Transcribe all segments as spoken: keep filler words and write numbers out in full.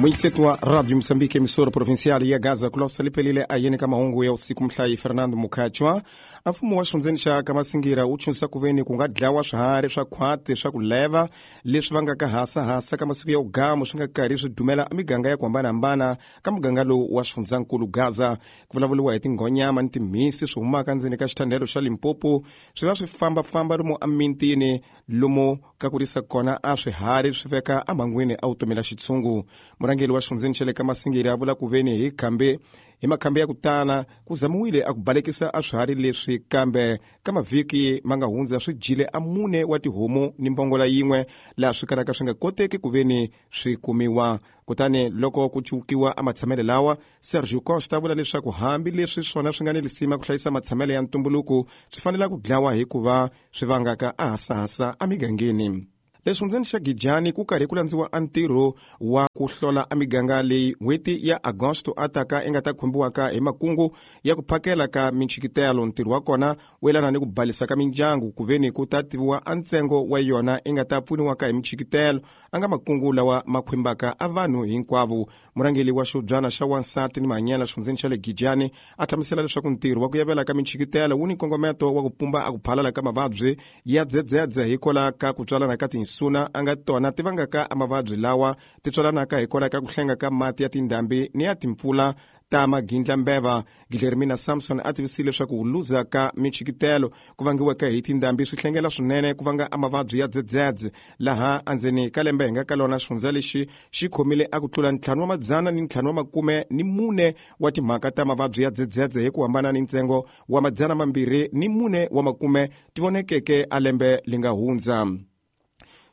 Mwisetu wa Radio Msambiki emissora provincial ya Gaza kulosa lipelile ayene ka mahungu ya usiku mhlayi Fernando Mukhachwa. Mfumo wa xifundzeni xa Kamasingira wu chunsa kuveni ku nga dlawa swiharhi swa khwati swa ku leva leswi vangaka hasahasa ka masiku ya ugamu swi nga karhi swi dumela miganga ya ku hambanahambana ka muganga lowu wa xifundzankulu Gaza. Ku vulavuriwa hi tinghonyama ni timhisi swi humaka ndzeni ka xithandelo xa Limpopo swi va swi fambafamba lomu emintini lomu ka kurisa kona a swiharhi swi veka emhangwini a vutomi la xitshungu. Murhangeri wa xifundzeni xa le Kamasingira a vula ku veni hi khambe hi makhambi ya ku tala ku zamiwile a ku balekisa a swiharhi leswi kambe ka mavhiki ma nga hundza swi dyile a mune wa tihomu ni mbongola yin'we laha swi kalaka swi nga koteki ku veni swi kumiwa. Kutani loko ku cukiwa a matshamelo lawa, Sergio Costa vula leswaku hambi leswi swona swi nga ni lisima ku hlayisa matshamelo ya ntumbuluko swi fanele ku dlawa hikuva swi vangaka a hasahasa emigangeni. Lexifundzeni xa Gijani ku karhi ku landziwa a ntirho wa ku hlola a miganga leyi n'hweti ya Agosto a taka i nga ta khumbiwaka hi makungu ya ku phakela ka minchikitelo. Ntirho wa kona wu yelana ni ku balisa ka mindyangu ku veni ku ta tiviwa a ntsengo wa yona i nga ta pfuniwaka hi minchikitelo a nga makungu lawa ma khwimbaka a vanhu hinkwavo. Murhangeri wa xibyana xa wansati ni mahanyelo xifundzeni xa le Gijani a hlamusela leswaku ntirho wa ku yavela ka minchikitelo wu ni nkongometo wa ku pumba a ku phalala ka mavabyi ya dzedzedze hikwalaho ka ku tswalana ka tinsuna a nga tona ti vangaka a mavabyi lawa ti tswalanaka hikwalaho ka ku hlenga ka mati ya tindhambi ni ya timpfula ta magindlambeva. Guilhermina Samson a tivisile leswaku ku luza ka minchikitelo ku vangiweke hi tindhambi swi hlengela swinene ku vanga a mavabyi ya dzedzedze laha endzeni ka lembe hi nga ka lona xifundza lexi xi khomile a ku tlula ntlhanu wa madzana ni ntlhanu wa makume ni mune wa timhaka ta mavabyi ya dzedzedze hi ku hambana ni ntsengo wa madzana mambirhi ni mune wa makume ti vonekeke a lembe li nga hundza.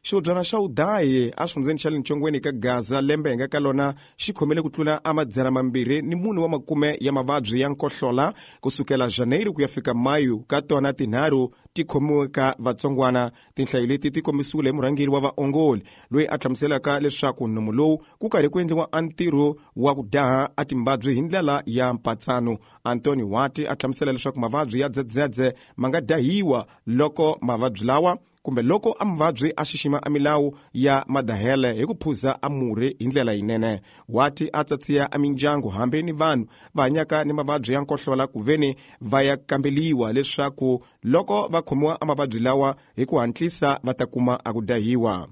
Xihubyana xa Udayi a xifundzeni xa le Ntshongweni ka Gaza lembe hi nga ka lona xi khomile ku tlula a madzana mambirhi ni mune wa makume ya mavabyi ya nkohlola kusukela Janeiro ku ya fika Mayu ka tona tinharhu ti khomiwe ka vatsongwana. Tinhlayo leti ti kombisiwile hi murhangeri wa vaongoli loyi a hlamuselaka leswaku nomu lowu ku karhi ku endliwa a ntirho wa ku daha a timbabyi hi ndlela ya mpatsano. Antoni Wati a hlamusela leswaku mavabyi ya dzedzedze ma nga dahiwa loko mavabyi lawa kumbe loko a muvabyi a xixima a milawu ya madahele hi ku phuza a murhi hi ndlela yinene. Wati a tsatsiya a mindyangu hambi ni vanhu va hanyaka ni mavabyi ya nkohlola ku veni va ya kambeliwa leswaku loko va khomiwa a mavabyi lawa hi ku hatlisa va ta kuma a ku dahiwa.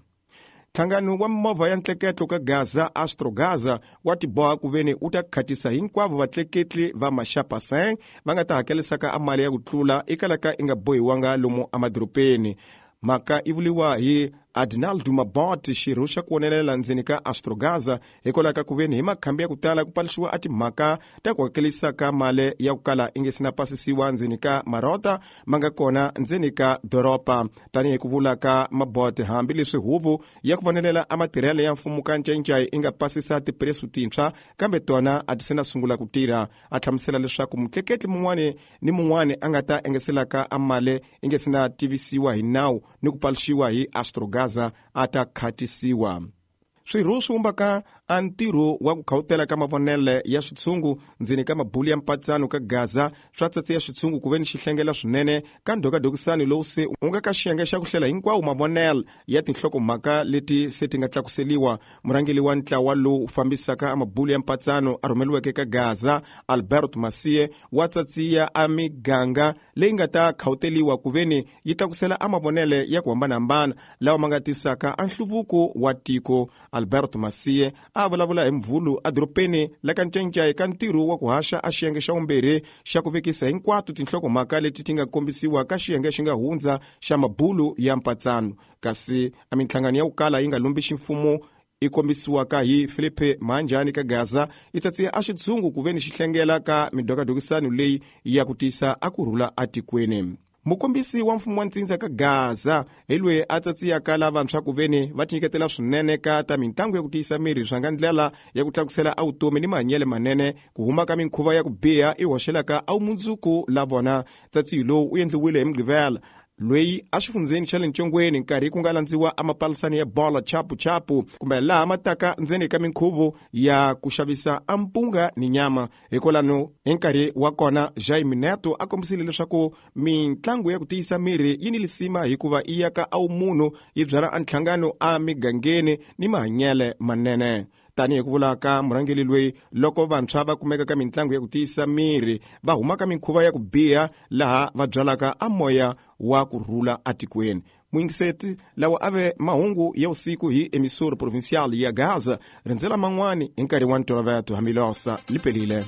Nhlangano wa mimovha ya ntleketlo ka Gaza Astro Gaza wa tiboha ku veni wu ta khatisa hinkwavo vatleketli va maxapaseng va nga ta hakelisaka a mali ya ku tlula ekalaka i nga bohiwanga lomu emadorobeni. Mhaka i vuliwa hi Adinaldo Mabot, xirho xa ku vonelela ndzeni ka Astro Gaza hikwalaho ka ku veni hi makhambi ya ku tala ku paluxiwa a timhaka ta ku hakelisa ka mali ya ku kala i nge se na pasisiwa ndzeni ka marota ma nga kona ndzeni ka doroba. Tanihi ku vula ka Mabot, hambileswi huvo ya ku vonelela a matirhelo ya mfumo ka Ncayincai i nga pasisa tipresu tintshwa kambe tona a ti se na sungula ku tirha. A hlamusela leswaku mutleketli mun'wani ni mun'wani a nga ta engeselaka a mali i nge se na tivisiwa hi nawu ni ku paluxiwa hi Astro Gaza a ta khatisiwa. Swirho swi vumbaka a ntirho wa ku khawutela ka mavonele ya xitshungu ndzeni ka mabulu ya mpatsano ka Gaza swa tsatsiya xitshungu ku veni xi hlengela swinene ka ndhokadokisani lowu se wu nga ka xiyenge xa ku hlela hinkwawo mavonele ya tinhlokomhaka leti se ti nga tlakuseliwa. Murhangeri wa ntlawa lowu fambisaka a mabulu ya mpatsano a rhumeliweke ka Gaza Albert Masie wa tsatsiya a miganga leyi nga ta khawuteliwa ku veni yi tlakusela a mavonele ya ku hambanahambana lawa ma nga tisaka a nhluvuko wa tiko. Albert Masie a vulavula hi Mvhulu edorobeni la ka Ncayincai ka ntirho wa ku haxa a xiyenge xa vumbirhi xa ku vekisa hinkwato tinhlokomhaka leti ti nga kombisiwa ka xiyenge xi nga hundza xa mabulu ya mpatsano. Kasi a minhlangano ya ku kala yi nga lumbi ximfumo i kombisiwaka hi Felipe Manjani ka Gaza i tsatsiya a xitshungu ku veni xi hlengela ka midokadokisano leyi ya ku tisa a ku rhula atikweni. Mukombisi wa mfumo wa ntsindza ka Gaza hi loyi a tsatsiyaka lavantshwa ku veni va tinyiketela swinene ka ta mitlangu ya ku tiyisa miri swa nga ndlela ya ku tlakusela a vutomi ni mahanyelo manene ku huma ka minkhuva ya ku biha i hoxelaka a vumundzuku la vona. Tsatsiyo lowu wu endliwile hi Mugqivela loyi a xifundzeni xa le Ntshongweni nkarhi ku nga landziwa a mapalisani ya bola chapu chapu kumbe laha ma taka ndzeni ka minkhuvo ya ku xavisa a mpunga ni nyama. Hikwalano hi nkarhi wa kona Jaime Neto a kombisile leswaku mitlangu ya ku tiyisa miri yi ni lisima hikuva i yaka a wumunhu yi byala a nhlangano a migangeni ni mahanyelo manene. Tanihi ku vula ka murhangeri loyi, loko vantshwa va kumeka ka mitlangu ya ku tiyisa miri va huma ka mikhuva ya ku biha laha va byalaka a moya wa ku rhula atikweni. Muyingiseti, lawa a ve mahungu ya usiku hi emissora provincial ya Gaza. Rindzela man'wani hi nkarhi wa ntolovelo. Hamilosa lipelile.